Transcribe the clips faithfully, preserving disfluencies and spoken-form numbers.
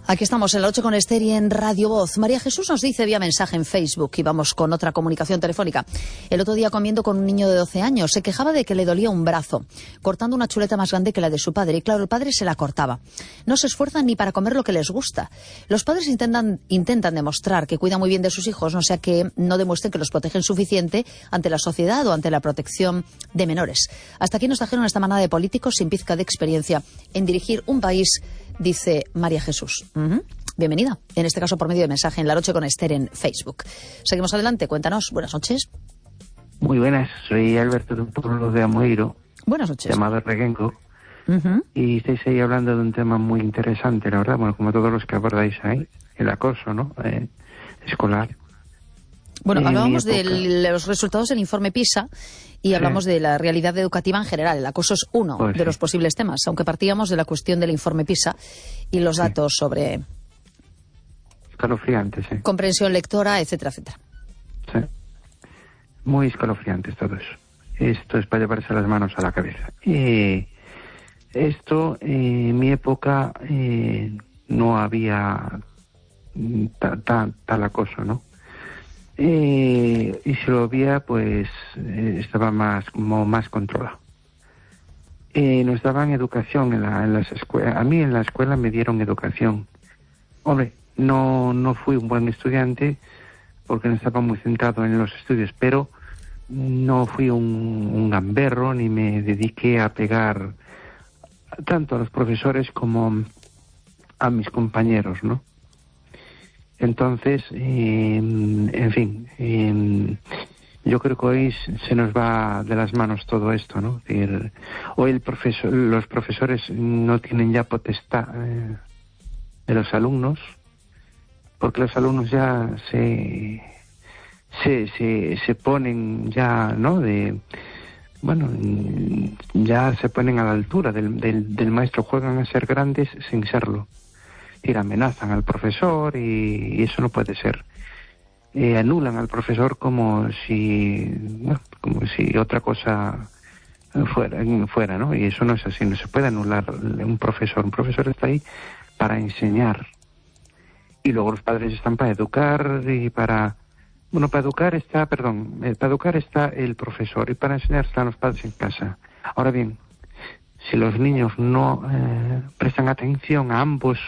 Aquí estamos en la ocho con Esther y en Radio Voz. María Jesús nos dice vía mensaje en Facebook, y vamos con otra comunicación telefónica. El otro día, comiendo con un niño de doce años, se quejaba de que le dolía un brazo, cortando una chuleta más grande que la de su padre. Y claro, el padre se la cortaba. No se esfuerzan ni para comer lo que les gusta. Los padres intentan, intentan demostrar que cuidan muy bien de sus hijos, no sea que no demuestren que los protegen suficiente ante la sociedad o ante la protección de menores. Hasta aquí nos trajeron esta manada de políticos sin pizca de experiencia en dirigir un país, dice María Jesús. Uh-huh. Bienvenida, en este caso por medio de mensaje en La Noche con Esther en Facebook. Seguimos adelante, cuéntanos. Buenas noches. Muy buenas, soy Alberto de un pueblo de Amoeiro. Buenas noches. Llamado Reguenco. Uh-huh. Y estáis ahí hablando de un tema muy interesante, la verdad, bueno, como todos los que abordáis ahí, el acoso, ¿no? Eh, escolar. Bueno, en hablábamos de época... los resultados del informe PISA y hablamos sí. de la realidad educativa en general. El acoso es uno pues de sí. los posibles temas, aunque partíamos de la cuestión del informe PISA y los datos sí. sobre... Escalofriantes, sí. Comprensión lectora, etcétera, etcétera. Sí. Muy escalofriantes todo eso. Esto es para llevarse las manos a la cabeza. Eh, esto, eh, en mi época, eh, no había ta, ta, tal acoso, ¿no? Eh, y si lo había, pues eh, estaba más como más controlado. Eh, nos daban educación en, la, en las escuelas. A mí en la escuela me dieron educación. Hombre, no no fui un buen estudiante porque no estaba muy centrado en los estudios, pero no fui un, un gamberro ni me dediqué a pegar tanto a los profesores como a mis compañeros, ¿no? Entonces, eh, en fin, eh, yo creo que hoy se nos va de las manos todo esto, ¿no? Es decir, hoy el profesor, los profesores no tienen ya potestad eh, de los alumnos, porque los alumnos ya se se se, se ponen ya, ¿no? De bueno, ya se ponen a la altura del, del, del maestro, juegan a ser grandes sin serlo. Y amenazan al profesor y, y eso no puede ser. Eh, anulan al profesor como si bueno, como si otra cosa fuera, fuera, ¿no? Y eso no es así, no se puede anular un profesor. Un profesor está ahí para enseñar. Y luego los padres están para educar y para... Bueno, para educar está, perdón, eh, para educar está el profesor y para enseñar están los padres en casa. Ahora bien, si los niños no eh, prestan atención a ambos,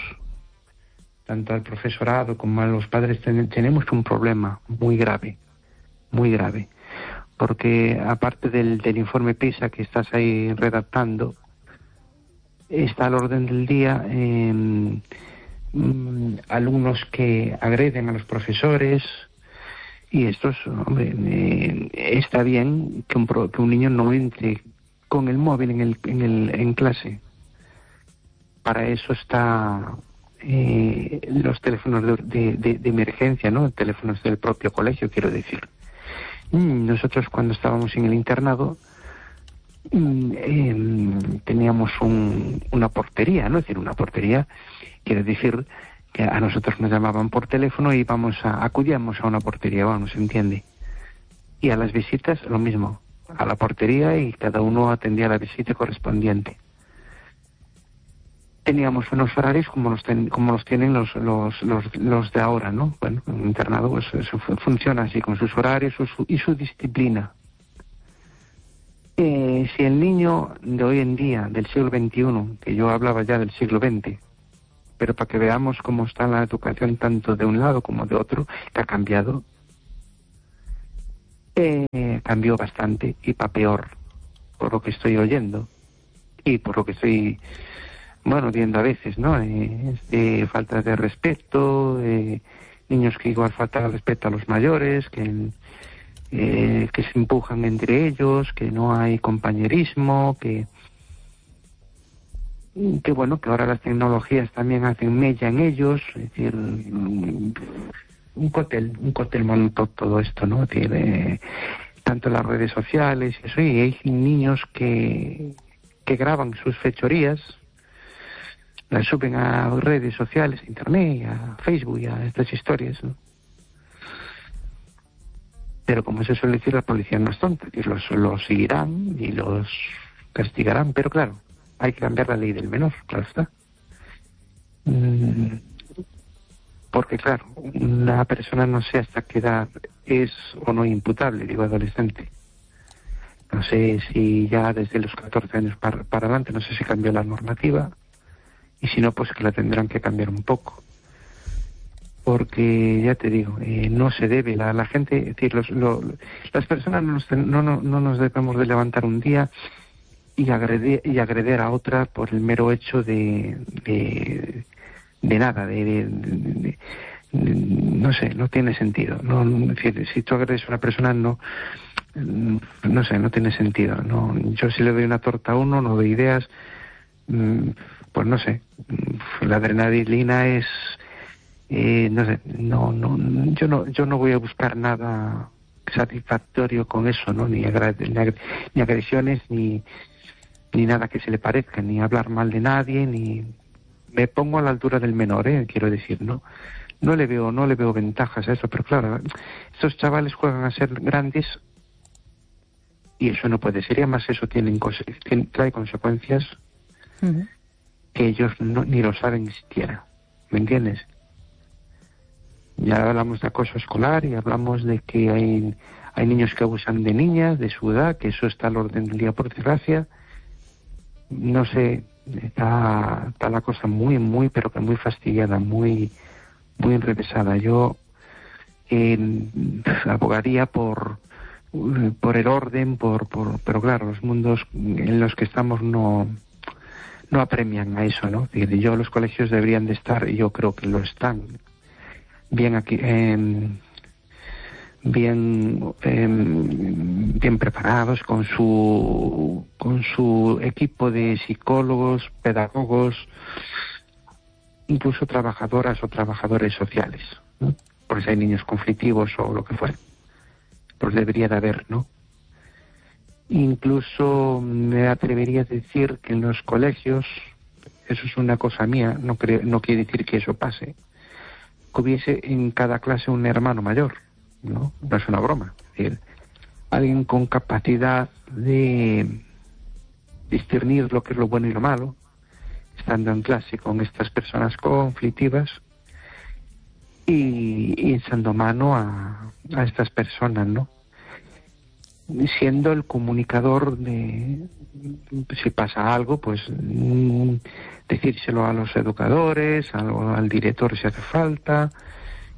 tanto al profesorado como a los padres, ten, tenemos un problema muy grave, muy grave, porque aparte del, del informe PISA que estás ahí redactando, está al orden del día eh, mm, alumnos que agreden a los profesores, y estos, hombre, eh, está bien que un, pro, que un niño no entre con el móvil en, el, en, el, en clase. Para eso está... Eh, los teléfonos de, de, de, de emergencia, ¿no? Teléfonos del propio colegio, quiero decir. Mm, nosotros cuando estábamos en el internado mm, eh, teníamos un, una portería, ¿no? Es decir, una portería, quiere decir que a nosotros nos llamaban por teléfono y íbamos a, acudíamos a una portería, vamos, ¿se entiende? Y a las visitas lo mismo, a la portería, y cada uno atendía la visita correspondiente. Teníamos unos horarios como los, ten, como los tienen los, los, los, los de ahora, ¿no? Bueno, en un internado pues, eso funciona así, con sus horarios su, su, y su disciplina. Eh, si el niño de hoy en día, del siglo veintiuno, que yo hablaba ya del siglo veinte, pero para que veamos cómo está la educación tanto de un lado como de otro, que ha cambiado, eh, cambió bastante y para peor, por lo que estoy oyendo y por lo que estoy... bueno, viendo a veces, ¿no? Eh, de falta de respeto, eh, niños que igual faltan el respeto a los mayores, que, eh, que se empujan entre ellos, que no hay compañerismo, que, que bueno, que ahora las tecnologías también hacen mella en ellos, es decir, un cóctel, un cóctel molotov todo esto, ¿no? Es decir, eh, tanto las redes sociales y eso, y hay niños que, que graban sus fechorías, las suben a redes sociales, a internet, a Facebook y a estas historias, ¿no? Pero como se suele decir, la policía no es tonta, que los, los seguirán y los castigarán, pero claro, hay que cambiar la ley del menor, claro está. Porque claro, una persona no sé hasta qué edad es o no imputable, digo adolescente. No sé si ya desde los catorce años para, para adelante, no sé si cambió la normativa, y si no, pues que la tendrán que cambiar un poco. Porque, ya te digo, eh, no se debe, la, la gente, es decir, los, lo, las personas no nos, no, no, no nos debemos de levantar un día y agredir, y agreder a otra por el mero hecho de, de, de nada, de, de, de, de, de, no sé, no tiene sentido. No, es decir, si tú agredes a una persona, no, no sé, no tiene sentido. No, yo si le doy una torta a uno, no doy ideas, pues no sé, la adrenalina es, eh, no sé, no, no, yo no, yo no voy a buscar nada satisfactorio con eso, ¿no? Ni, agra ni, ag ni agresiones, ni, ni nada que se le parezca, ni hablar mal de nadie, ni me pongo a la altura del menor, ¿eh? Quiero decir, ¿no? No le veo, no le veo ventajas a eso, pero claro, estos chavales juegan a ser grandes y eso no puede ser, y además eso tiene, tiene, trae consecuencias uh-huh. que ellos no, ni lo saben siquiera, ¿me entiendes? Ya hablamos de acoso escolar y hablamos de que hay, hay niños que abusan de niñas, de su edad, que eso está al orden del día por desgracia. No sé, está, está la cosa muy, muy, pero que muy fastidiada, muy, muy enrevesada. Yo eh, abogaría por, por el orden, por, por, pero claro, los mundos en los que estamos no, no apremian a eso, ¿no? Yo, los colegios deberían de estar, y yo creo que lo están, bien aquí, eh, bien eh, bien preparados con su con su equipo de psicólogos, pedagogos, incluso trabajadoras o trabajadores sociales, ¿no? Porque si hay niños conflictivos o lo que fuera, pues debería de haber, ¿no? Incluso me atrevería a decir que en los colegios, eso es una cosa mía, no creo, no quiere decir que eso pase, que hubiese en cada clase un hermano mayor, ¿no? No es una broma. Es decir, alguien con capacidad de discernir lo que es lo bueno y lo malo, estando en clase con estas personas conflictivas y, y echando mano a, a estas personas, ¿no? Siendo el comunicador de, si pasa algo, pues mm, decírselo a los educadores, al, al director si hace falta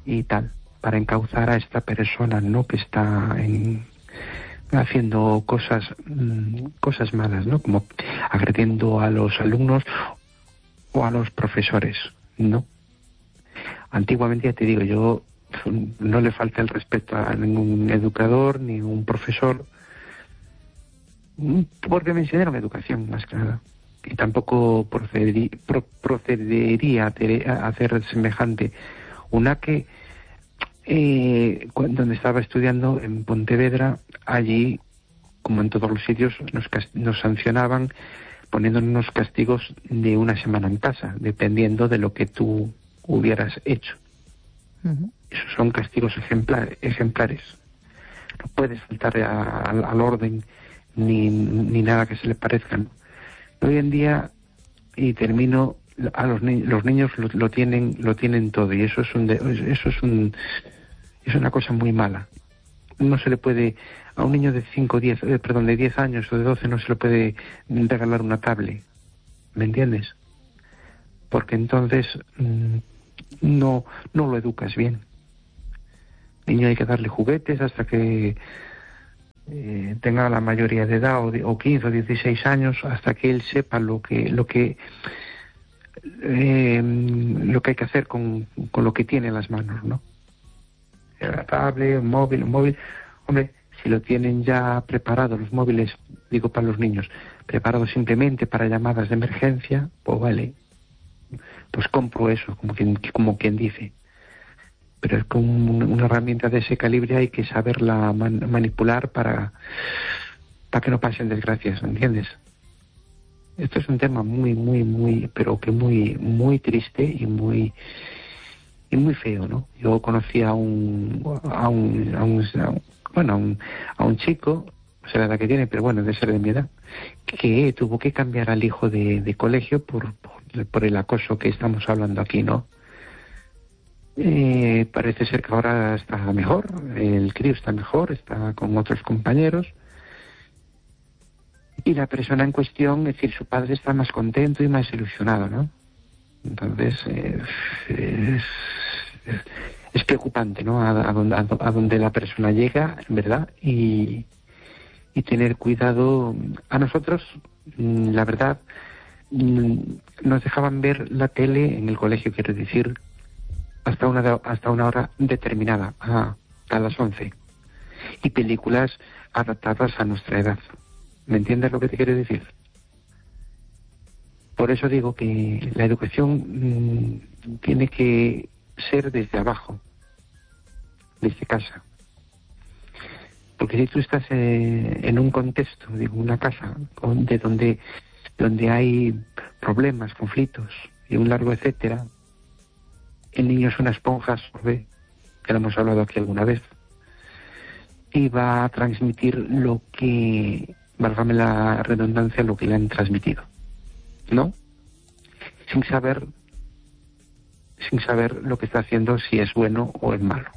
y tal, para encauzar a esta persona, ¿no? Que está en, haciendo cosas mmm, cosas malas, ¿no? Como agrediendo a los alumnos o a los profesores, ¿no? Antiguamente, ya te digo, yo no le falta el respeto a ningún educador ni un profesor, porque me enseñaron educación más que nada, y tampoco procederí, pro, procedería a hacer semejante. Una que eh, cuando estaba estudiando en Pontevedra, allí, como en todos los sitios, nos, nos sancionaban poniéndonos castigos de una semana en casa, dependiendo de lo que tú hubieras hecho. Uh-huh. Esos son castigos ejemplares, ejemplares. No puedes faltar a, a, al orden ni, ni nada que se le parezca, ¿no? Hoy en día, y termino, a los, ni los niños lo, lo tienen lo tienen todo, y eso es un de, eso es un es una cosa muy mala. No se le puede a un niño de cinco, diez, eh, perdón, de diez años o de doce no se le puede regalar una tablet, ¿me entiendes? Porque entonces mmm, no no lo educas bien. Niño hay que darle juguetes hasta que eh, tenga la mayoría de edad, o, de, o quince o dieciséis años, hasta que él sepa lo que lo que eh, lo que hay que hacer con, con lo que tiene en las manos, ¿no? La tablet, un móvil, un móvil, hombre, si lo tienen ya preparado los móviles, digo para los niños, preparados simplemente para llamadas de emergencia, pues vale, pues compro eso, como quien, como quien dice. Pero es como una herramienta de ese calibre, hay que saberla man, manipular para, para que no pasen desgracias, ¿entiendes? Esto es un tema muy, muy, muy, pero que muy, muy triste y muy, y muy feo, ¿no? Yo conocí a un, a un, a un, a un bueno, a un, a un chico, no sé la edad que tiene, pero bueno, debe ser de mi edad, que tuvo que cambiar al hijo de, de colegio por, por por el acoso que estamos hablando aquí, ¿no? Eh, parece ser que ahora está mejor, el crío está mejor, está con otros compañeros, y la persona en cuestión, es decir, su padre está más contento y más ilusionado, ¿no? Entonces, eh, es, es preocupante, ¿no? A, a, donde, a donde la persona llega, ¿verdad? Y, y tener cuidado. A nosotros, la verdad, nos dejaban ver la tele en el colegio, quiero decir, hasta una hasta una hora determinada, a, a las once, y películas adaptadas a nuestra edad. ¿Me entiendes lo que te quiero decir? Por eso digo que la educación mmm, tiene que ser desde abajo, desde casa. Porque si tú estás eh, en un contexto, digo, una casa con, de donde donde hay problemas, conflictos y un largo etcétera, el niño es una esponja, absorbe, que lo hemos hablado aquí alguna vez, y va a transmitir lo que, válgame la redundancia, lo que le han transmitido, ¿no? Sin saber, sin saber lo que está haciendo, si es bueno o es malo.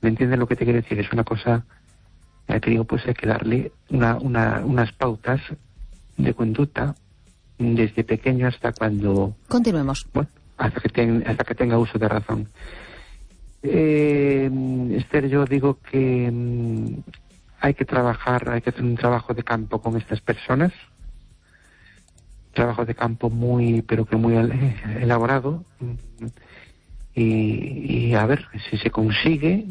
¿Me entiendes lo que te quiero decir? Es una cosa, ya te digo, pues hay que darle una, una, unas pautas de conducta desde pequeño hasta cuando... Continuemos. Bueno, hasta que, ten, hasta que tenga uso de razón. Eh, Esther, yo digo que mm, hay que trabajar, hay que hacer un trabajo de campo con estas personas, trabajo de campo muy, pero que muy elaborado, y, y a ver si se consigue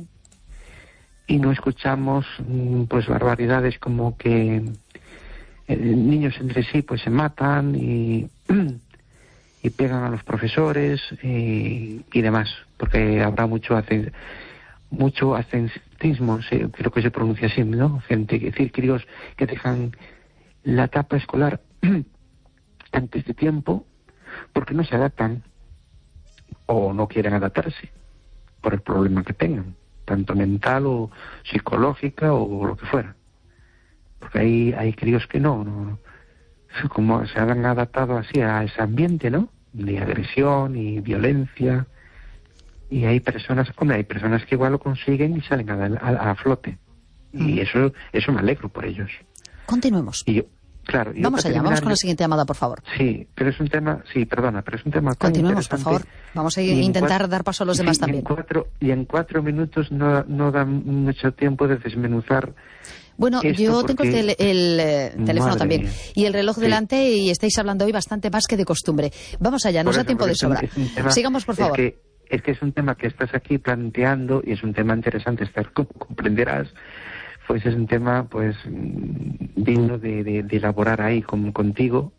y no escuchamos pues barbaridades como que eh, niños entre sí pues se matan y y pegan a los profesores y, y demás, porque habrá mucho hace, mucho ascentismo, sí, creo que se pronuncia así, ¿no? Gente, es decir, críos que dejan la etapa escolar antes de tiempo porque no se adaptan o no quieren adaptarse por el problema que tengan, tanto mental o psicológica o lo que fuera. Porque hay, hay críos que no, no, como se han adaptado así a ese ambiente, ¿no? De agresión y violencia. Y hay personas, hombre, hay personas que igual lo consiguen y salen a, a, a flote. Y mm. eso eso me alegro por ellos. Continuemos. Y yo, claro. Y vamos yo, allá, vamos con la siguiente llamada, por favor. Sí, pero es un tema, sí, perdona, pero es un tema tan Continuemos, por favor. Vamos a intentar cuatro, dar paso a los demás sí, también. Y en cuatro, y en cuatro minutos no, no da mucho tiempo de desmenuzar. Bueno, yo tengo el, tele, el eh, teléfono también mía. y el reloj sí. delante y estáis hablando hoy bastante más que de costumbre. Vamos allá, nos por da eso, tiempo de sobra. Es un, es un tema, sigamos, por favor. Es que, es que es un tema que estás aquí planteando y es un tema interesante, estar, como comprenderás, pues es un tema pues digno de, de, de elaborar ahí con, contigo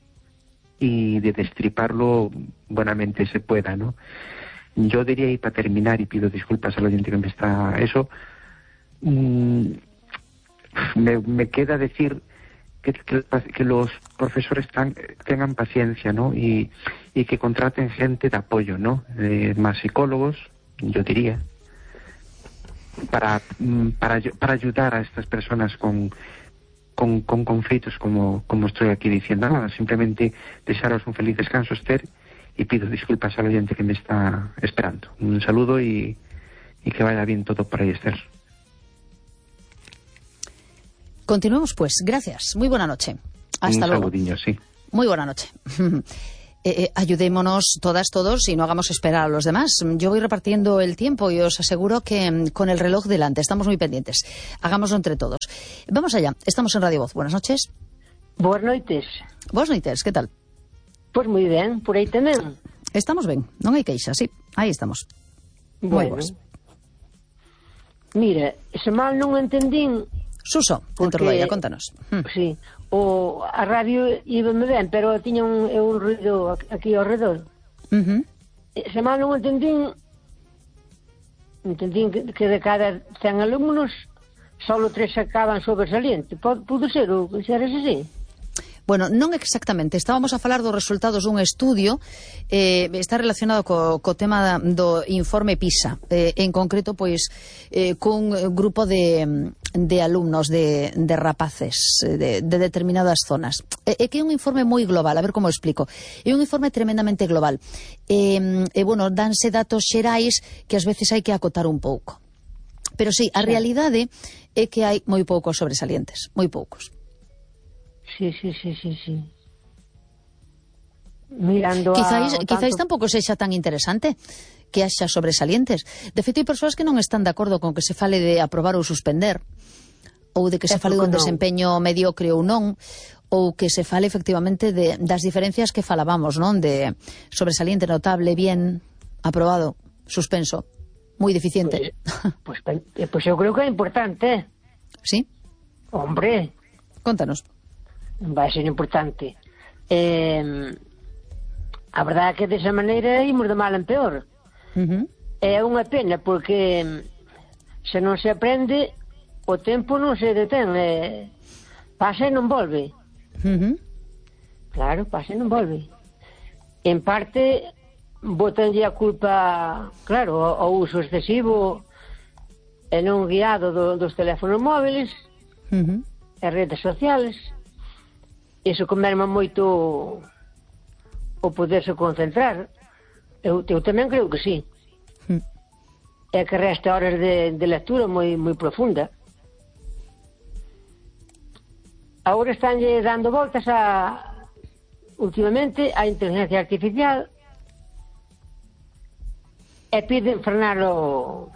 y de destriparlo buenamente se pueda, ¿no? Yo diría, y para terminar, y pido disculpas al oyente que me está eso, mmm, me, me queda decir que, que, que los profesores tan, tengan paciencia, ¿no? Y, y que contraten gente de apoyo, ¿no? Eh, más psicólogos, yo diría, para, para, para ayudar a estas personas con, con, con conflictos como, como estoy aquí diciendo. Nada, simplemente desearos un feliz descanso, Esther, y pido disculpas al oyente que me está esperando. Un saludo y, y que vaya bien todo por ahí, Esther. Continuemos pues. Gracias. Muy buena noche. Hasta un luego. Saludinho, sí. Muy buena noche. eh, eh, ayudémonos todas, todos y no hagamos esperar a los demás. Yo voy repartiendo el tiempo y os aseguro que mm, con el reloj delante estamos muy pendientes. Hagámoslo entre todos. Vamos allá. Estamos en Radio Voz. Buenas noches. Boas noites. Boas noites. ¿Qué tal? Pois moi ben, por aí tamén. Estamos ben, non hai queixa, sí, aí estamos. Bueno, moi boas. Mira, se mal non entendín... Suso, porque, dentro do aire, contanos. Hm. Sí, o, a radio íbame ben, pero tiña un, un ruido aquí ao redor. Uh -huh. Se mal non entendín, entendín que, que de cada cen alumnos, só tres sacaban sobresaliente. Pudo ser, ou que eras así? Bueno, non exactamente. Estábamos a falar dos resultados dun estudio, eh, está relacionado co, co tema do informe PISA, eh, en concreto, pois, eh, cun grupo de, de alumnos, de, de rapaces, de, de determinadas zonas. É eh, que é un informe moi global, a ver como explico. É un informe tremendamente global. E, eh, bueno, danse datos xerais que ás veces hai que acotar un pouco. Pero sí, a realidade é que hai moi poucos sobresalientes, moi poucos. Sí, sí, sí, sí, sí. Mirando Quizáis, a... quizáis tanto... tampouco sexa tan interesante que haxa sobresalientes. De feito, hai persoas que non están de acordo con que se fale de aprobar ou suspender, ou de que se fale dun desempeño mediocre ou non, ou que se fale efectivamente de, das diferencias que falábamos, non? De sobresaliente, notable, bien, aprobado, suspenso, moi deficiente. Pois pues, pues, pues eu creo que é importante. Sí? Hombre. Contanos. Vai ser importante. Eh, a verdade é que desa maneira imos de mal en peor. Uh-huh. É unha pena porque se non se aprende o tempo non se detén, eh, pasa e non volve. Uh-huh. Claro, pasa e non volve. En parte botanlle a culpa, claro, ao uso excesivo e non guiado do, dos teléfonos móviles, uh-huh, e redes sociales. Iso que merma moito o poderse concentrar. Eu, eu tamén creo que sí. uh-huh. É que resta horas de, de lectura moi moi profunda. Agora estánlle dando voltas a últimamente a inteligencia artificial e piden frenar o,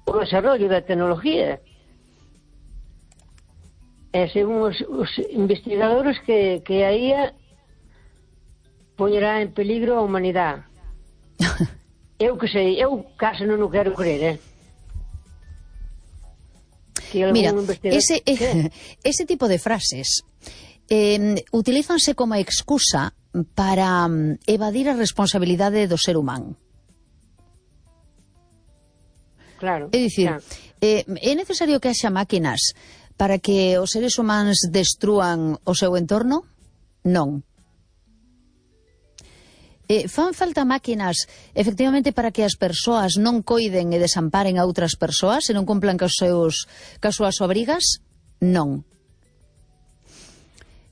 o desarrollo da tecnología. E según os, os investigadores que, que a I A poñerá en peligro a humanidade. Eu que sei, eu case non o quero crer, eh? Mira, ese, eh, ese tipo de frases eh, utilízanse como excusa para um, evadir a responsabilidade do ser humano. Claro. É dicir, claro. eh, é necesario que haxa máquinas para que os seres humanos destrúan o seu entorno? Non. Eh, fan falta máquinas, efectivamente, para que as persoas non coiden e desamparen a outras persoas e non cumplan cos seus, cas súas obrigas? Non.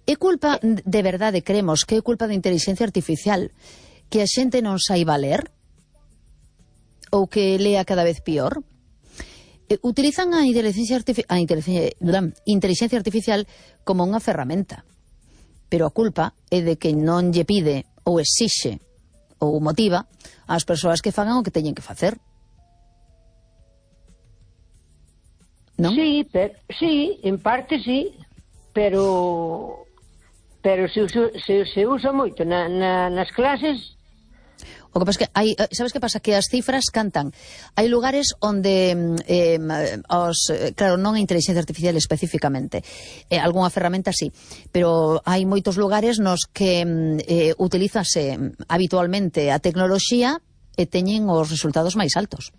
É culpa, de verdade, creemos que é culpa da inteligencia artificial que a xente non saiba ler? Ou que lea cada vez pior? Eh, utilizan a inteligencia, artific a inteligencia, inteligencia artificial como unha ferramenta, pero a culpa é de que non lle pide ou exixe ou motiva ás persoas que fagan o que teñen que facer. Non? Sí, pero, sí, en parte sí, pero pero se, se, se usa moito na, na, nas clases. O que pasa que hai, sabes que pasa? Que as cifras cantan. Hai lugares onde eh, os, claro, non a inteligencia artificial especificamente, eh, algunha ferramenta sí, pero hai moitos lugares nos que eh, utilízase habitualmente a tecnoloxía e teñen os resultados máis altos.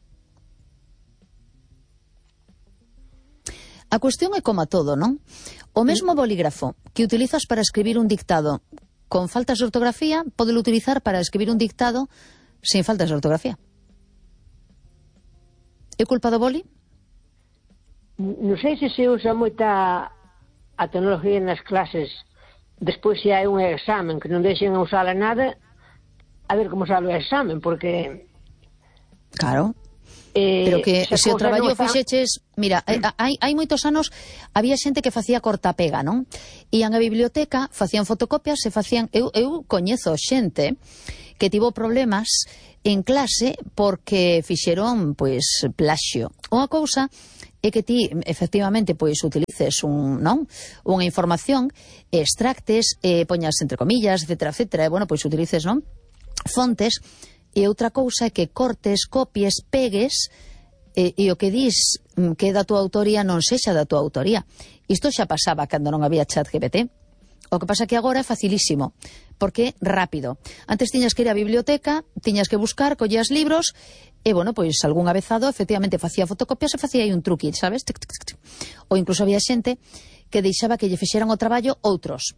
A cuestión é como a todo, non? O mesmo bolígrafo que utilizas para escribir un dictado con faltas de ortografía, podelo utilizar para escribir un dictado sin faltas de ortografía. É culpa do boli? Non sei se se usa moita a tecnología nas clases, despois se hai un examen que non deixen usala nada, a ver como sale o examen, porque... Claro. Eh, pero que se, se o traballo está... fixeches, mira, hai, hai moitos anos había xente que facía cortapega, non? Ian á biblioteca, facían fotocopias e facían, eu, eu coñezo xente que tivo problemas en clase porque fixeron, pois, plaxio. Unha cousa é que ti, efectivamente, pois, utilices un, non? Unha información, extractes, eh, poñas entre comillas, etcétera, etcétera, e, bueno, pois, utilices, non? Fontes. E outra cousa é que cortes, copies, pegues e, e o que dis que é da tua autoría non sexa da tua autoría. Isto xa pasaba cando non había chat G P T. O que pasa que agora é facilísimo, porque é rápido. Antes tiñas que ir á biblioteca, tiñas que buscar, collías libros e, bueno, pois algún avezado efectivamente facía fotocopias e facía aí un truqui, sabes? Ou incluso había xente que deixaba que lle fixeran o traballo outros.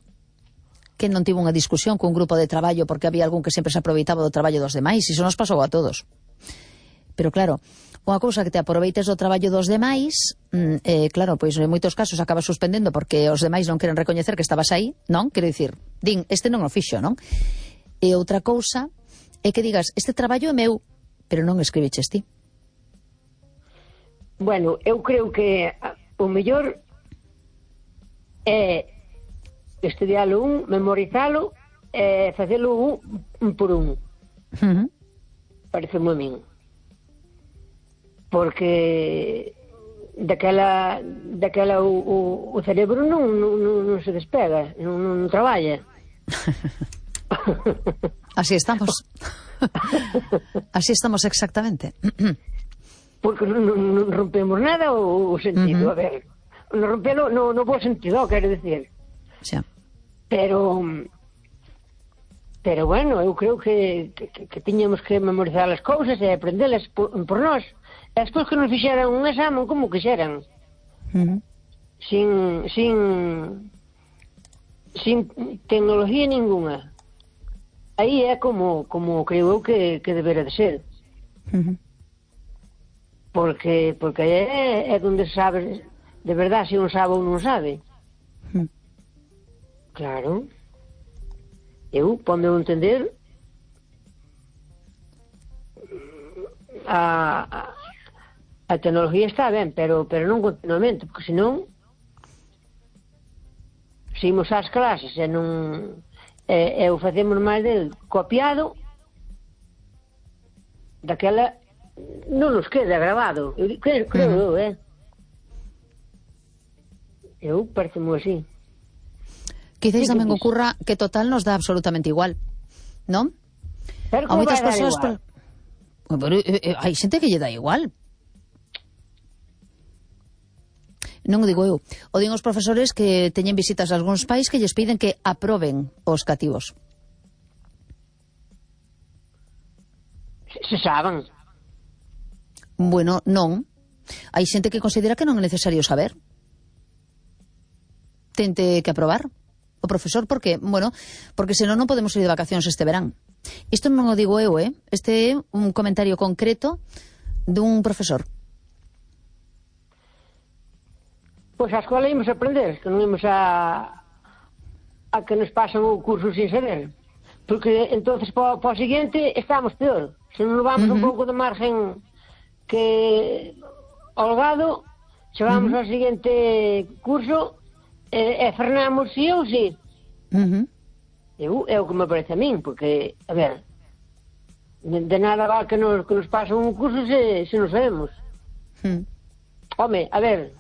que non tivo unha discusión cun grupo de traballo porque había algún que sempre se aproveitaba do traballo dos demais, iso nos pasou a todos. Pero claro, unha cousa que te aproveites do traballo dos demais, eh, claro, pois en moitos casos acabas suspendendo porque os demais non queren recoñecer que estabas aí, non? Quero dicir, din, este non o fixo, non? E outra cousa é que digas, este traballo é meu, pero non escribiches ti. Bueno, eu creo que o mellor é estudialo un, memorizalo e facelo un, un por un. Uh-huh. Parece moi min. Porque daquela daquela o, o, o cerebro non, non, non se despega, non, non traballa. Así estamos. Así estamos exactamente. Porque non, non rompemos nada o, o sentido, uh-huh. A ver, non rompelo no, no bo sentido, quero decir. Sí. Pero pero bueno, eu creo que, que, que tiñamos que memorizar as cousas e aprendelas por, por nós. E despois que nos fixeran un examen como quixeran. Uh-huh. Sin sin sin tecnología ninguna. Aí é como como creo eu que, que debera de ser. Uh-huh. Porque porque é, é onde sabes de verdade se un sabe ou non sabe. Uh-huh. Claro. Eu, pondo eu entender, a, a, a tecnología está ben, pero pero non continuamente, porque senón se imos ás clases e non e, e o facemos máis del copiado, daquela non nos queda grabado. Eu, creo, creo eu, eh? Eu parecemo así. Quizás tamén ocurra que total nos dá absolutamente igual, non? Pero a moitas persoas igual? Por... Pero, eh, eh, hai xente que lle dá igual. Non o digo eu. O din os profesores que teñen visitas a algúns pais que lles piden que aproben os cativos. Se saben. Bueno, non. Hai xente que considera que non é necesario saber. Tente que aprobar o profesor, porque, bueno, porque senón non podemos ir de vacacións este verán. Isto non o digo eu, eh? Este é un comentario concreto dun profesor. Pois a escola imos aprender, que non imos a a que nos pasan o curso sin saber. Porque entonces para o seguinte estamos peor. Se non vamos uh-huh. un pouco de margen que holgado, chegamos uh-huh. ao seguinte curso e, e frenamos si ou si. Uh-huh. Eu, é o que me parece a min, porque, a ver, de, de nada va que nos, que nos pasa un curso se, se nos sabemos. Uh-huh. Home, a ver,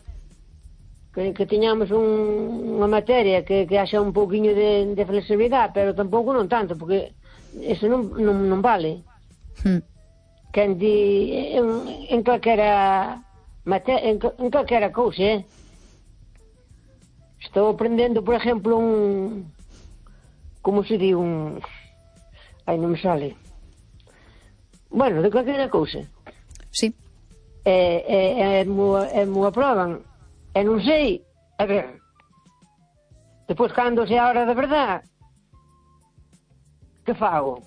que, que tiñamos un, unha materia que, que haxa un pouquiño de, de flexibilidade, pero tampouco non tanto, porque eso non, non, non vale. Uh-huh. Que en, di, en, en calquera materia, en, en calquera cousa, eh? Estou aprendendo, por exemplo, un... Como se di un... Ai, non me sale. Bueno, de calquera cousa. Sí. E, e, e, mo, e mo aproban. E non sei, a ver... Depois, cando se a hora de verdade, que fago?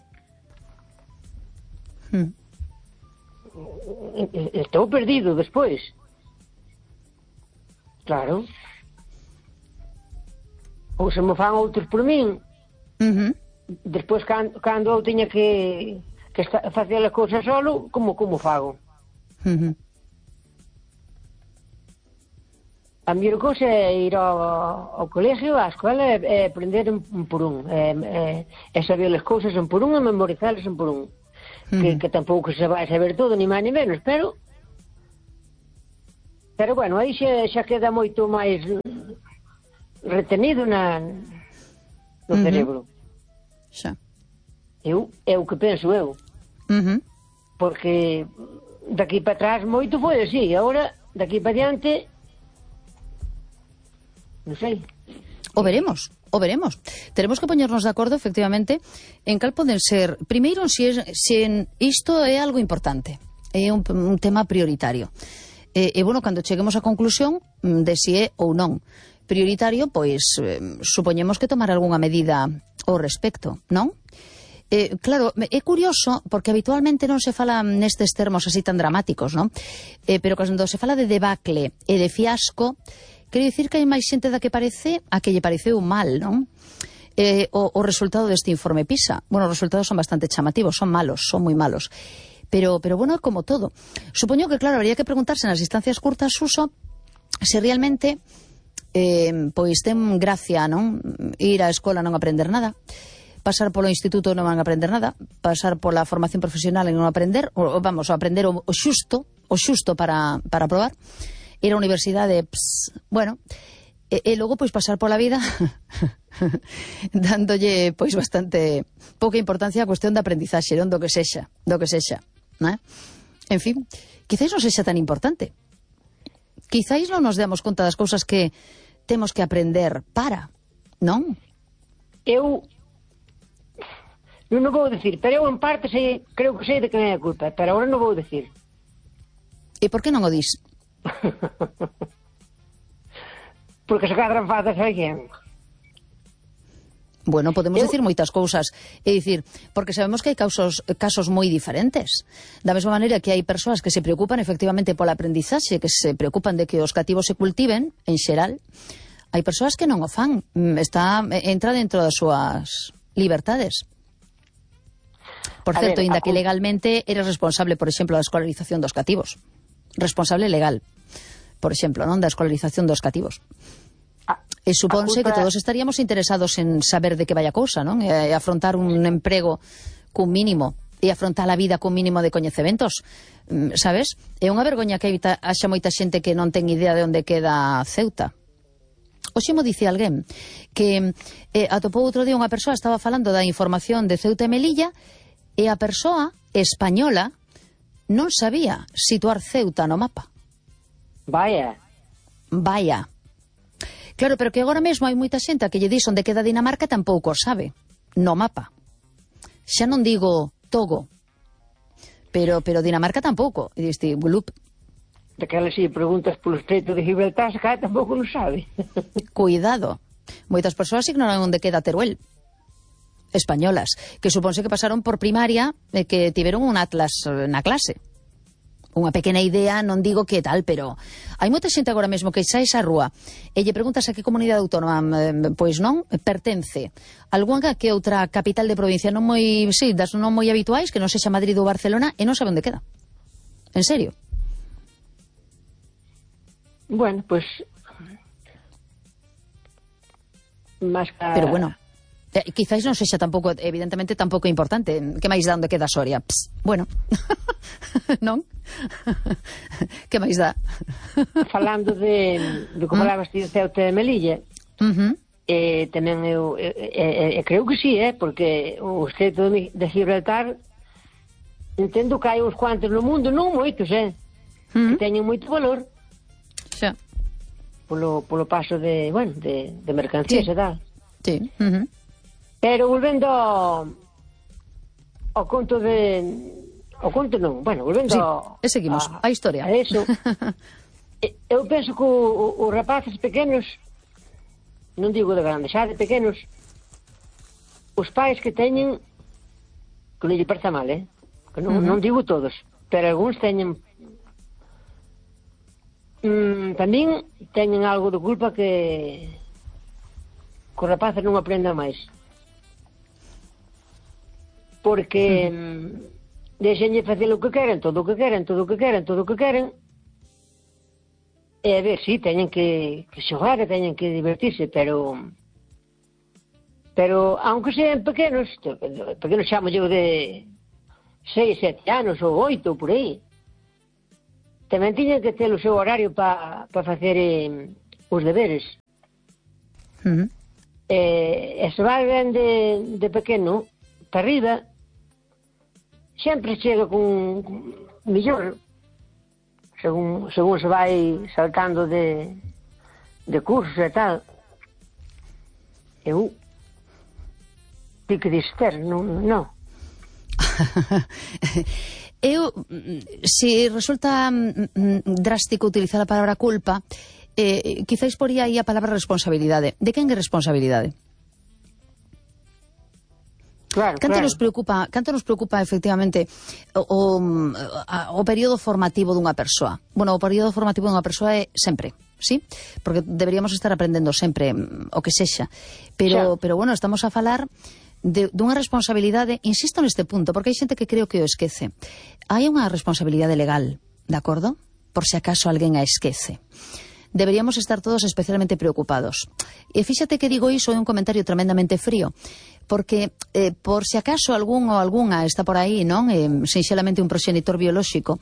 Hmm. Estou perdido despois. Claro. Ou se me fan outros por min. Uh-huh. Despois, cando, cando eu tiña que, que esta, facer as cousas solo, como, como fago? Uh-huh. A miña cousa é ir ao, ao colegio, á escola, e, e aprender un, un por un. E, e, e saber as cousas un por un e memorizarlas un por un. Uh-huh. Que, que tampouco se vai saber todo, ni máis ni menos, pero... Pero, bueno, aí xa, xa queda moito máis... retenido na no uh-huh. cerebro. Xa. Eu, é o que penso eu. Uh-huh. Porque daqui para atrás moito foi así, agora daqui para diante non sei. O veremos, o veremos. Tenemos que poñernos de acordo, efectivamente, en cal poden ser, primeiro, se, es, se en isto é algo importante, é un, un tema prioritario. E, e, bueno, cando cheguemos á conclusión de si é ou non. prioritario, pois eh, supoñemos que tomar algunha medida ao respecto, non? Eh, claro, é curioso porque habitualmente non se fala nestes termos así tan dramáticos, non? Eh, pero cando se fala de debacle e de fiasco, quero dicir que hai máis xente da que parece a que lle pareceu mal, non? Eh, o, o resultado deste informe PISA. Bueno, os resultados son bastante chamativos, son malos, son moi malos. Pero, pero bueno, como todo. Supoño que, claro, habría que preguntarse nas distancias curtas, Suso, se realmente eh, pois ten gracia, non? Ir á escola non aprender nada, pasar polo instituto non van a aprender nada, pasar pola formación profesional e non aprender, ou, vamos, a aprender o, o xusto, o xusto para, para aprobar, ir á universidade, ps, bueno, e, e logo pois pasar pola vida dándolle pois bastante pouca importancia á cuestión da aprendizaxe, non do que sexa, do que sexa, non é? En fin, quizáis non sexa tan importante. Quizáis non nos demos conta das cousas que temos que aprender para, non? Eu Eu non vou dicir, pero eu en parte sei, creo que sei de quen é a culpa, pero agora non vou dicir. E por que non o dis? Porque se cadran fadas a alguén. Bueno, podemos eu... dicir moitas cousas. É dicir, porque sabemos que hai casos, casos moi diferentes. Da mesma maneira que hai persoas que se preocupan efectivamente pola aprendizaxe, que se preocupan de que os cativos se cultiven, en xeral, hai persoas que non o fan. Está, entra dentro das súas libertades. Por certo, ainda que legalmente eres responsable, por exemplo, da escolarización dos cativos. Responsable legal, por exemplo, non da escolarización dos cativos. E supónse culpa... que todos estaríamos interesados en saber de que vai a cousa, non? E afrontar un emprego cun mínimo e afrontar a vida cun mínimo de coñecementos, sabes? É unha vergoña que haxa moita xente que non ten idea de onde queda Ceuta. Oxe mo dice alguén que eh, atopou outro día unha persoa, estaba falando da información de Ceuta e Melilla, e a persoa española non sabía situar Ceuta no mapa. Vaya. Vaya. Claro, pero que agora mesmo hai moita xente que lle dis onde queda Dinamarca e tampouco sabe no mapa. Xa non digo Togo, pero pero Dinamarca tampouco. E diste, blup. Daquelas si preguntas polo estreito de Gibraltar, se cae tampouco non sabe. Cuidado. Moitas persoas ignoran onde queda Teruel. Españolas, que suponse que pasaron por primaria e que tiveron un atlas na clase. Unha pequena idea, non digo que tal, pero hai moita xente agora mesmo que saes á rúa e lle preguntas a que comunidade autónoma, pois non, pertence algunha que outra capital de provincia non moi, sí, das non moi habituais, que non sexa Madrid ou Barcelona, e non sabe onde queda. En serio. Bueno, pois pues... Mas que... Pero bueno, Eh, quizáis non sexa tampouco, evidentemente tampouco é importante. Que máis dá onde queda Soria? Pss, bueno, non? Que máis dá? Falando de, de como falabas ti de Ceuta e Melilla, uh-huh. eh, tamén eu eh, eh, creo que sí, eh, porque o estreito de, de Gibraltar entendo que hai uns cuantos no mundo, non moitos, eh, uh-huh. que teñen moito valor. Xa. Polo, polo paso de, bueno, de, de mercancías sí. e tal. Sí, uh-huh. Pero volvendo ao, ao conto de... Ao conto non, bueno, volvendo sí, ao... e seguimos, a, a historia. A eso, eu penso que os rapaces pequenos, non digo de grandes, xa de pequenos, os pais que teñen, que non lle parta mal, eh? Que non, uh-huh. non digo todos, pero algúns teñen... Mm, tamén teñen algo de culpa que... que os rapaces non aprendan máis. Porque uh-huh. deixenlle facer o que queren, todo o que queren, todo o que queren, todo o que queren. E a ver, si, sí, teñen que, que xogar e teñen que divertirse, pero pero, aunque sean pequenos, pequenos chamo yo de seis, sete anos ou oito, por aí, tamén tiñen que ter o seu horario para pa facer eh, os deberes. Uh-huh. E, e se vai ben de, de pequeno para arriba, sempre chega con, con millor, según, según se vai saltando de, de cursos e tal. Eu ti que dister, non, non. Eu, se resulta drástico utilizar a palabra culpa, eh, quizáis poría aí a palabra responsabilidade. De quen é responsabilidade? Claro, Canto claro. nos preocupa, canto nos preocupa efectivamente o, o, a, o período formativo dunha persoa. Bueno, o período formativo dunha persoa é sempre, sí? Porque deberíamos estar aprendendo sempre o que sexa. Pero, Xa. pero bueno, estamos a falar de, dunha responsabilidade, insisto neste punto, porque hai xente que creo que o esquece. Hai unha responsabilidade legal, de acordo? Por se acaso alguén a esquece. Deberíamos estar todos especialmente preocupados. E fíxate que digo iso é un comentario tremendamente frío, porque eh, por se acaso algún ou algunha está por aí, non? Eh, sinxelamente un proxenitor biolóxico.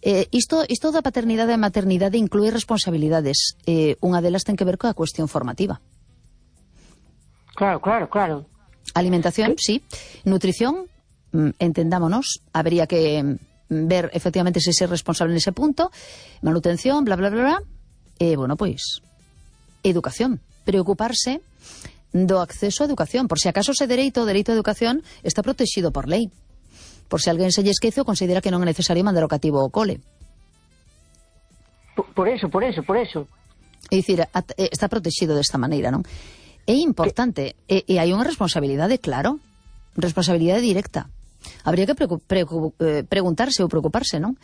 Eh, isto, isto da paternidade e maternidade inclúe responsabilidades. Eh, unha delas ten que ver coa cuestión formativa. Claro, claro, claro. Alimentación, sí. Nutrición, mm, entendámonos, habría que mm, ver efectivamente se ser responsable nese punto. Manutención, bla, bla, bla, bla. E, eh, bueno, pois, educación. Preocuparse do acceso á educación. Por se acaso ese dereito, o dereito á educación, está protegido por lei. Por se alguén se lle esquece ou considera que non é necesario mandar o cativo ao cole. Por, por eso, por eso, por eso. É dicir, at, eh, está protegido desta maneira, non? É importante, e, e hai unha responsabilidade, claro, responsabilidade directa. Habría que preocup, preocup, eh, preguntarse ou preocuparse, non?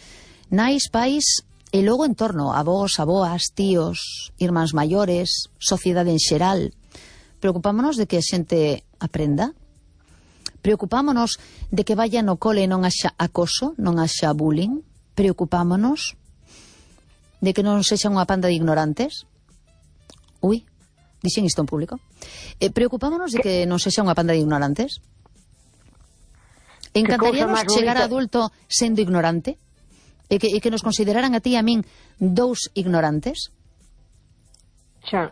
Nais, pais, e logo en torno, avós, aboas, tíos, irmáns maiores, sociedade en xeral. Preocupámonos de que a xente aprenda? Preocupámonos de que vaya no cole e non haxa acoso, non haxa bullying? Preocupámonos de que non sexa unha panda de ignorantes? Ui, dixen isto en público. Eh, preocupámonos de que non sexa unha panda de ignorantes? Encantaríanos chegar a adulto sendo ignorante? E que, e que nos consideraran a ti e a min dous ignorantes? Xa.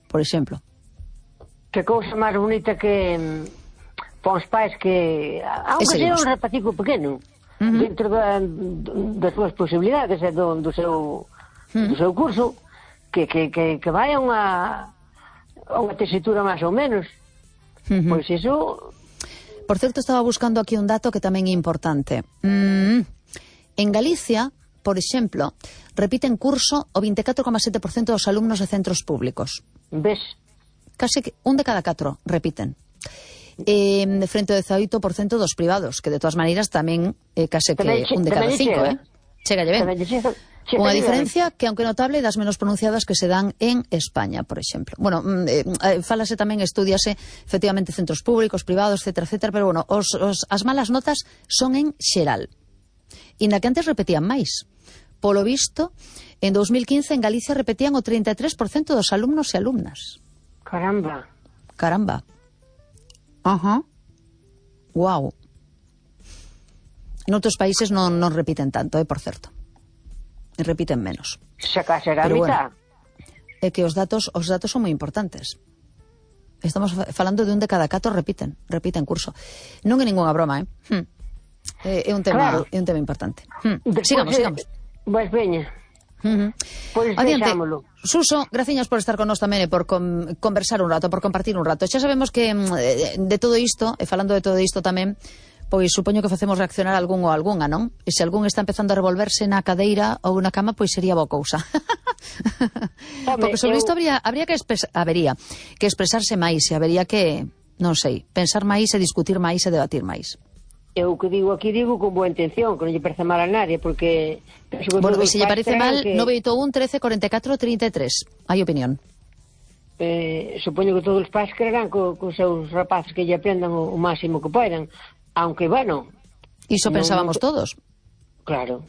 Por exemplo. Que cousa máis bonita que mm, para os pais que, aunque sea un rapacico pequeno, uh-huh, dentro da, das súas posibilidades e do, do seu uh-huh, do seu curso, que, que, que, que vai a unha a unha tesitura máis ou menos. Uh-huh. Pois iso... Por certo, estaba buscando aquí un dato que tamén é importante. Mm, en Galicia, por exemplo, repiten curso o vinte e catro coma sete por cento dos alumnos de centros públicos. Ves? Casi que un de cada catro repiten. Eh, frente ao dezaoito por cento dos privados, que de todas maneiras tamén eh, case que tamén, un de cada cinco, eh? Chegalle ben. Unha diferencia que, aunque notable, das menos pronunciadas que se dan en España, por exemplo. Bueno, eh, fálase tamén, estudiase efectivamente centros públicos, privados, etcétera, etcétera, pero bueno, os, os, as malas notas son en xeral. E na que antes repetían máis. Polo visto, en dos mil quince en Galicia repetían o trinta e tres por cento dos alumnos e alumnas. Caramba. Caramba. Ajá. Guau. En outros países non, non repiten tanto, eh, por certo. Repiten menos. Se case a Pero mitad. Bueno, é que os datos, os datos son moi importantes. Estamos falando de un de cada catro repiten, repiten curso. Non é ningunha broma, eh? Hm. É, é un tema, claro, é un tema importante. Hm. Sigamos, de... sigamos. Pois veña. Uh-huh. Pois deixámolo. Suso, graciñas por estar con nós tamén e por com, conversar un rato, por compartir un rato. Xa sabemos que de todo isto, e falando de todo isto tamén, pois supoño que facemos reaccionar algún ou algunha, non? E se algún está empezando a revolverse na cadeira ou na cama, pois sería boa cousa. Home, porque sobre eu... isto habría, habría que, expres... habería que expresarse máis e habería que, non sei, pensar máis e discutir máis e debatir máis. Eu que digo aquí digo con boa intención, que non lle parece mal a nadie, porque... Bueno, e se lle parece mal, que... nove oito un, trece, cuarenta e catro, trinta e tres. Hai opinión. Eh, supoño que todos os pais quererán co, co seus rapaces que lle aprendan o, o máximo que poidan. Aunque, bueno... Iso non, pensábamos non... todos. Claro.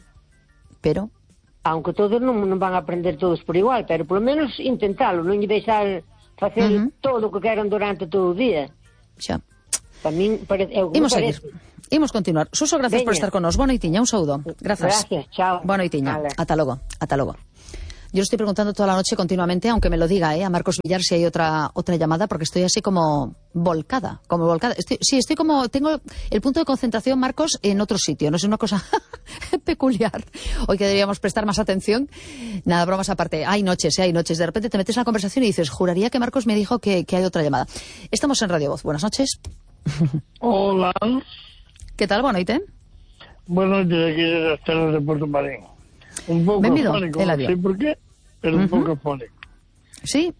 Pero... Aunque todos non, non van a aprender todos por igual, pero polo menos intentalo, non lle deixar facer uh-huh, todo o que queran durante todo o día. Xa. Para min parece... Imos seguir. Imos continuar. Suso, gracias Veña. por estar con nos. Boa noitiña, un saúdo. Grazas. Gracias, chao. Boa noitiña. Ata logo, ata logo. Yo estoy preguntando toda la noche continuamente, aunque me lo diga, ¿eh? A Marcos Villar si hay otra otra llamada, porque estoy así como volcada, como volcada. Estoy, sí, estoy como, tengo el punto de concentración, Marcos, en otro sitio. No sé, una cosa peculiar. Hoy que deberíamos prestar más atención. Nada, bromas aparte. Hay noches, ¿eh? Hay noches. De repente te metes en la conversación y dices, juraría que Marcos me dijo que, que hay otra llamada. Estamos en Radio Voz. Buenas noches. Hola. ¿Qué tal? Boa noite. Boa noite, aquí das terras de Porto Marín. Un pouco Benvido, afónico, non sei por qué. pero un Uh-huh. pouco afónico. Sí?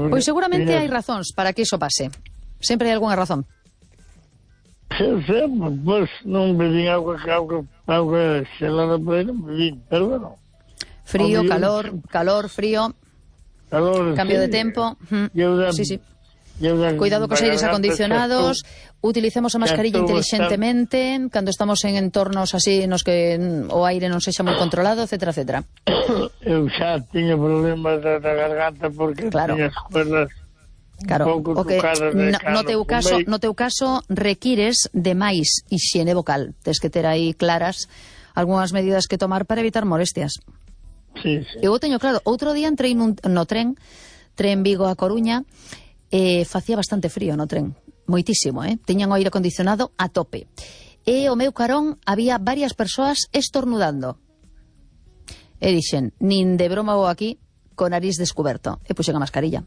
Pois seguramente hai razóns para que iso pase. Sempre hai algunha razón. Sí, sí, pois non bebín auga, auga, auga xelada por aí, non bebín, pero bueno. Frío, Obvio, calor, sí. calor, frío, Calor, cambio sí. de tempo. Mm. Eu da, Sí, sí. eu da, Cuidado cos aires acondicionados, utilicemos a mascarilla estou inteligentemente cando estamos en entornos así nos que mm, o aire non sexa moi controlado, etcétera, etcétera. Eu xa tiña problemas da, da garganta porque Claro. tiña as cuerdas Claro, un pouco o que tocadas de no, no cano teu por caso, medio. no teu caso requires de máis hixiene vocal. Tes que ter aí claras algunhas medidas que tomar para evitar molestias. Sí, sí. Eu teño claro, outro día entrei nun, no tren, tren Vigo a Coruña, e facía bastante frío no tren, moitísimo, eh? Tiñan o aire acondicionado a tope. E o meu carón había varias persoas estornudando. E dixen, nin de broma vou aquí con nariz descoberto. E puxen a mascarilla.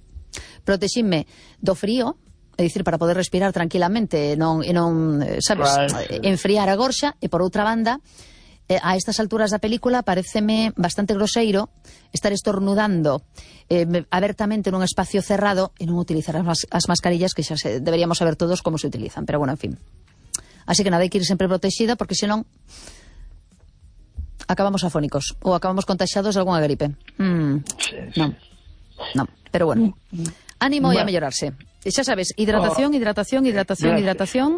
Protexinme do frío, é dicir, para poder respirar tranquilamente e non, e non sabes, Claro, sí. enfriar a gorxa, e por outra banda, eh, a estas alturas da película paréceme bastante groseiro estar estornudando eh, abertamente nun espacio cerrado e non utilizar as, mas as mascarillas que xa se, deberíamos saber todos como se utilizan, pero bueno, en fin. Así que nada, hai que ir sempre protexida porque senón acabamos afónicos ou acabamos contaxados de algunha gripe. Mm, Sí, sí. non, non, pero bueno. Ánimo e a Bueno. mellorarse. E xa sabes, hidratación, hidratación, hidratación, Gracias. hidratación.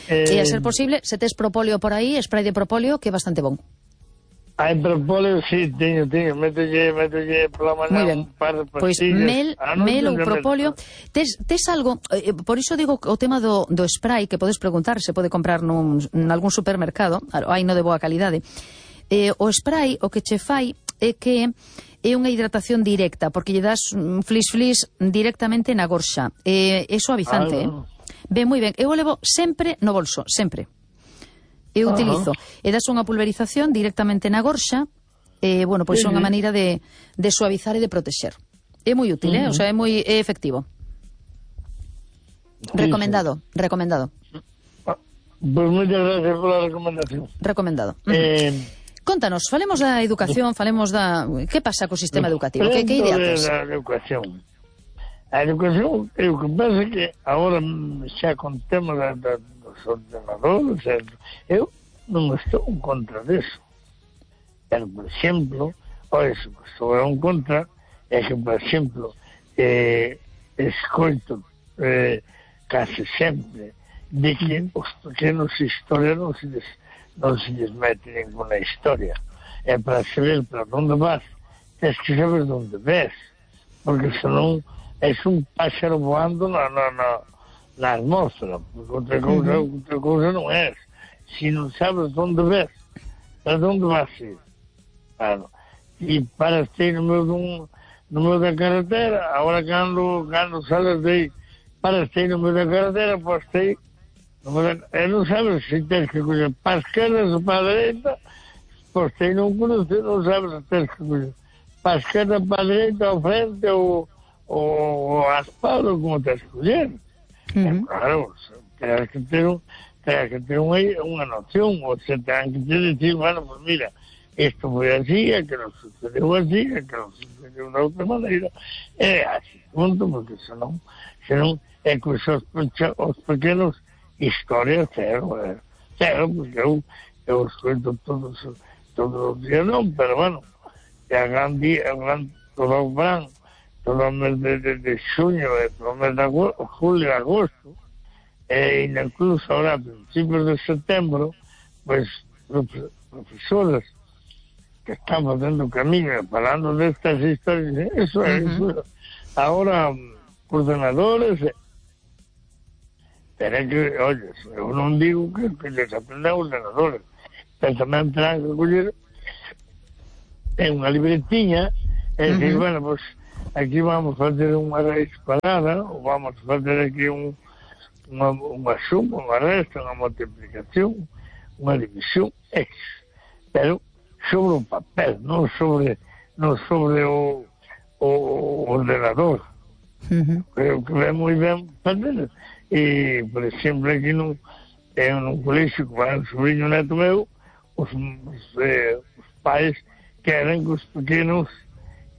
Eh, E a ser posible, se tes propóleo por aí, spray de propóleo, que é bastante bon. Hai propóleo, sí, teño, teño. Mételle, mételle pola Moi mañá ben. un par de Pois pastillas. mel, Ah, non, mel ou teño propóleo. mel. Tes, tes algo, eh, por iso digo o tema do, do spray, que podes preguntar, se pode comprar nun, nalgún supermercado, hai no de boa calidade. Eh, o spray, o que che fai é que é unha hidratación directa, porque lle das mm, flis-flis directamente na gorxa. Eh, é suavizante, Ah, eh? no. Ben, moi ben. Eu o levo sempre no bolso, sempre. Eu Ajá. utilizo. E das unha pulverización directamente na gorxa, eh, bueno, pois é unha Ujú. maneira de, de suavizar e de protexer. É moi útil, eh? O sea, é moi é efectivo. Sí, Recomendado, recomendado, Ah, Pois moitas gracias pola recomendación. recomendado. Eh, Contanos, falemos da educación, falemos da... Que pasa co sistema educativo? Que, que idea tes? Da educación. A educación, é o que pasa que agora xa con tema da, da, dos ordenadores, eu non estou en contra deso. Pero, por exemplo, o eso que estou en contra é que, por exemplo, eh, escoito eh, case sempre de que os pequenos historias non se les, non se les mete ninguna historia. É para saber para onde vas, tens que saber onde ves, porque senón é un páxaro voando na, na, na, na atmósfera, porque outra cousa, uh-huh. outra cousa non é. Se non sabes onde ves, para onde vas ir? Claro. E paras aí no meio, dun, no meio da carretera, agora cando, cando sales de aí, paras aí no meio da carretera, pois aí, e non sabes se tens que coller para a esquerda ou para a dereita, pois aí non conoces, non sabes se tens que coller para a esquerda, para a dereita, ao frente, ou, ou a espalda, como tens que coller. Uh-huh. É claro, tens que ter, un, tens que ter unha, unha noción, ou se tens que ter decir, bueno, pues mira, isto foi así, é que non sucedeu así, é que non sucedeu de outra maneira, é así, punto, porque senón, senón é que os, os pequenos historias, cero, é, cero, porque eu, eu escoito todos, todos os días, non, pero bueno, é a gran día, é gran, todo o verán, todo o mes de, de, de xuño, e todo o mes de agosto, julio e agosto, e incluso ahora, a principios de setembro, pues, profesores que están facendo camiño falando destas historias, eso é, uh-huh. eso. Ahora, ordenadores, pero é que, oye, eu non digo que, que les aprendan ordenadores, pero tamén terán que coller en unha libretiña e uh-huh. decir, bueno, pues aquí vamos a fazer unha raíz cuadrada, ou vamos a fazer aquí un, unha, unha suma, unha resta, unha multiplicación, unha división, X, pero sobre o papel, non sobre, non sobre o, o, o ordenador. Uh-huh. Creo que é moi ben fazer. E, por exemplo, aquí nun, en un colexio que vai un sobrinho neto meu, os, os, eh, os pais queren que os pequenos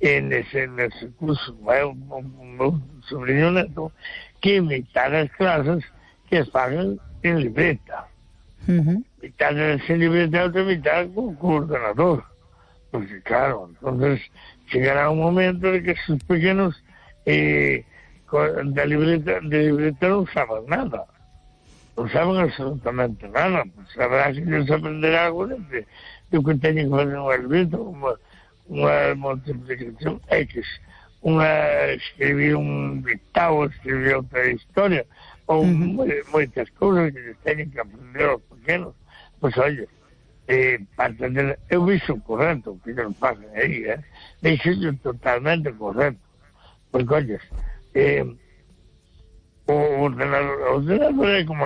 e nese, nese curso vai o, o, o meu sobrinho neto que imitar as clases que as pagan en libreta. Uh-huh. Imitar en libreta e outra imitar con, con ordenador. Porque claro, entonces llegará un momento de que esos pequeños eh, de libreta, de libreta no saben nada. No saben absolutamente nada. Pues habrá que ellos aprender algo de, de, de que tienen que hacer una libreta, una, una multiplicación X, una, escribir un dictado, escribir otra historia, o uh-huh. muchas cosas que ellos tienen que aprender los pequeños. Pues oye, eh, para entender, eu vixo correcto que non pasan aí, eh? Vixo totalmente correcto. Porque, oye, eh, o ordenador, o ordenador é como